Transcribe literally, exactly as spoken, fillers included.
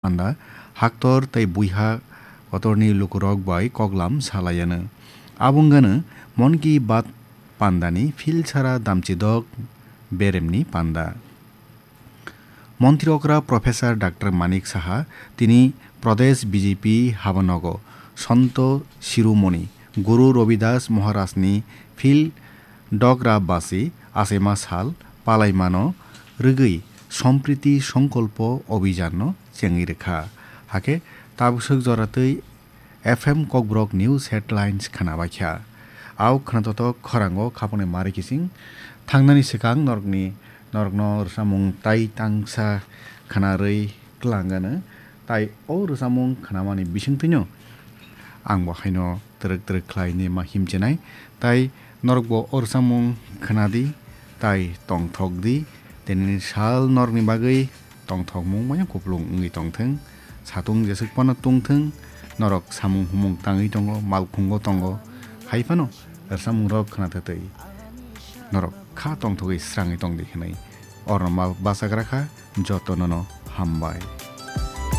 panda, haktor tei buiha kotorni lukurok bai koklam salaiano. Abo wngano Mon Ki Baat pandani philsara damchidok beremni panda. Montri okra Professor Doctor Manik Saha tini Pradesh B J P habanogo Santo Shiromoni Guru Ravidas Maharajni phil dogra basi achaima sal palaimano rwgwi Sampriti Sankalpo Abhijanno chengwi rwkha. Hakhe tabuk swk joratwi F M Kokborok News Headlines khwnabaikha. Au khwnatotok khorango khapangni mari kising thangnani swkang norokni, norokno rwchapmung tai tangsa khwnarwi twlangano, tai o rwchapmung khwnamani bisingtwino ang bo haino twrwk twrwk khlaini ma himchenai, tai norokbo o rwchapmung khwnadi, tai tongthokdi, tenini sal norokni bagwi tongthokmung maya kupulung wngwi tongthwng, satung jeswk phano tungthwng, norok samung humung tangwi tongo, malkhungo tongo, hai phano rwchapmungrok khwnathwtwi norok kha tongthogwi srangwi tongdi hwnwi orno ma bachagra kha, jotonono hambai.